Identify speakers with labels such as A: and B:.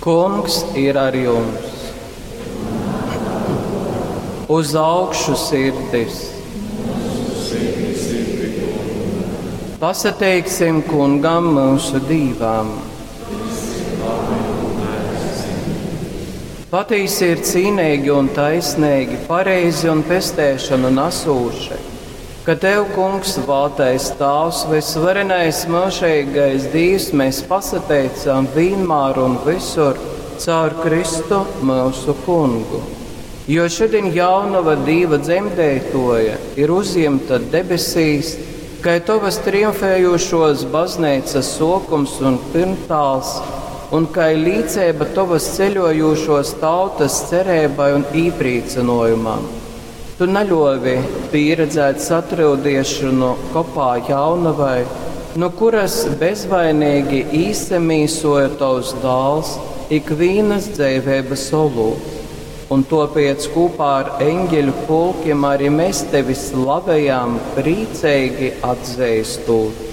A: Kungs ir ar jums! Uz augšu sirdis! Pasateiksim kungam mūsu Dīvam! Patīsi ir cīnīgi un taisnīgi, pareizi un pestēšanu nasūši, ka Tev, Kungs, vātais Tāvs, visvarenais mūžīgais Dīvs, mēs pasateicam vienmēr un visur caur Kristu mūsu Kungu. Jo šodien jaunava Dīva dzemdētoja ir uzjemta debesīs, kai tovas triumfējošos baznīcas sokums un pirmtāls, un kai līcība tovas ceļojošos tautas cerībai un īpriecinojumam. Tu neļovi pieredzēt satraudiešanu kopā jaunavai, no kuras bezvainīgi īsemīsoja tavs dāls ikvienas dzīvības olūts. Un topiec kopā ar eņģeļu pulkiem arī mēs tevi slavējam, priecīgi atzīstot.